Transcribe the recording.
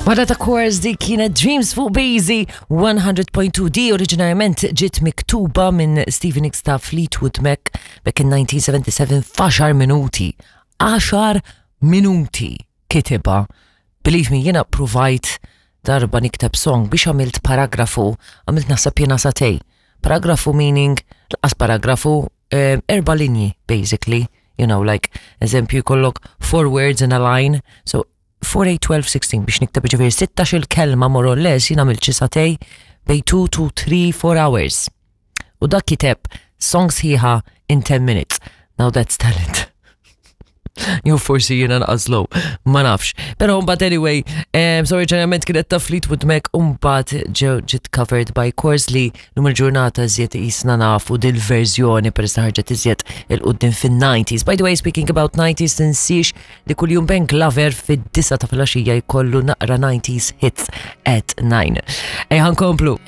Wara ta' Kors di kienet Dreams fuq Bazy 100.2 di oriġinarjament ġiet miktuba minn Stevie Nicks ta' Fleetwood Mac back in 1977 f'għaxar minuti. 10 minuti kitibha. Believe me, jiena provajt darba nikteb song biex għamilt paragrafu, għamilt naħseb jiena satej. Paragrafu meaning, laqas paragrafu, eh, erba linji basically, you know, like, eżempju jkollok four words in a line, so 4, 8, 12, 16 biex nikteb ġifieri 16 il-kelma more or less jien għamilt xi satej bej 2 to 3, 4 hours. U dak kiteb song sħiħa in 10 minutes. Now that's talent. Jew forsi jiena naqas low, ma nafx. Però mbagħad anyway, um, so oriġinarjament kienet ta' Fleetwood Mac u mbagħad ġew ġiet covered by Kors li lum il-ġurnata iżjed qisna nafu dil-verżjoni peress li ħarġet iżjed il-qudiem fin-90s. By the way, speaking about 90s, tinsiex li kuljum Ben Glover fid-disa ta' filgħaxija jkollu naqra 90s hits at 9. Ejja nkomplu.